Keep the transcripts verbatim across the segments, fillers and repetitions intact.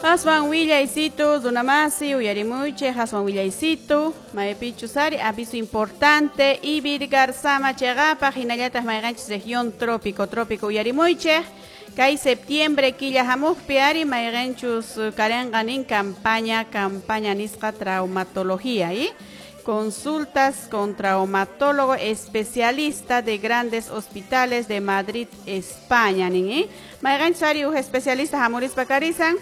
Aswan willaysitu runamasi uyarimuychik aswan willaysitu maypichus ari aviso importante Ivirgarzama chayqapaq hinallataq mayqanchis región trópico trópico uyarimuychik kay septiembre killa hamuqpi ari mayqanchus karenqa nin campaña campaña nisqa traumatología y consultas con traumatólogo especialista de grandes hospitales de Madrid, España nin ¿eh? Mayqanchus ari huk especialista hamurispa karisan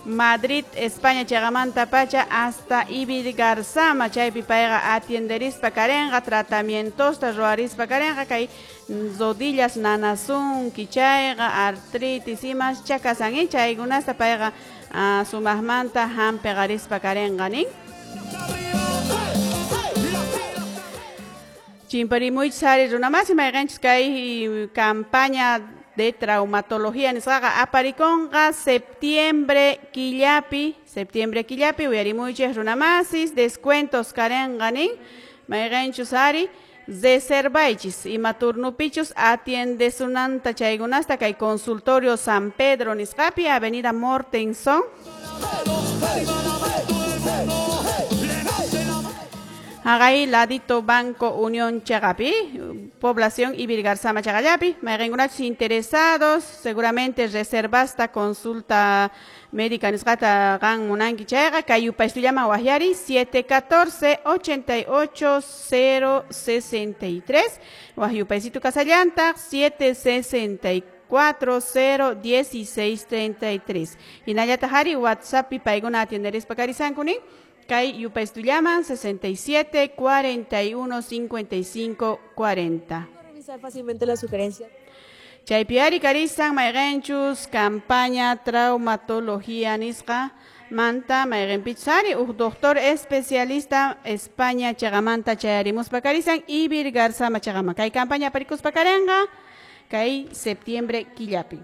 Madrid, España chayqamanta pacha hasta Ivirgarzama chaypi payqa atienderispa karenqa tratamientosta ruwarispa karenqa kay rodillas nanasunki chayqa artritis imas chakasan ¿eh? Chaykunasta payqa uh, sumaqmanta hampiqarispa karenqa nin. Chimparimuychis ari runamasi mayqanchis kay campaña de traumatología nisqaqa aparikunqa septiembre killapi septiembre killapi uyarimuychis runamasis descuentos karenqa nin mayqanchus ari reservaychis ima turnupichus atiendesunanta chaykunasta kay consultorio San Pedro nisqapi Avenida Mortenson Hagay ladito Banco Unión Chagapi, población Ivirgarzama Chagallapi. Mayqinkunachus interesados, seguramente reservasta consulta médica nisqata qan munanki chayqa kay yupaystullama waqyari siete catorce ochenta y ocho cero sesenta y tres waq yupaysitu kasallantaq siete sesenta y cuatro cero dieciséis treinta y tres. Hinallataq ari WhatsAppi paykuna atienderispa karisanku nin kay yupaystullaman sesenta y siete cuarenta y uno cincuenta y cinco cuarenta. Revisar fácilmente la sugerencia. Chaypi ari karisan mayqanchus campaña traumatología nisqa manta mayqanpichus ari huk doctor especialista España chayqamanta chayarimuspa karisan Ivirgarzama chayqama kay campaña aparikuspa karenqa kay septiembre killapi.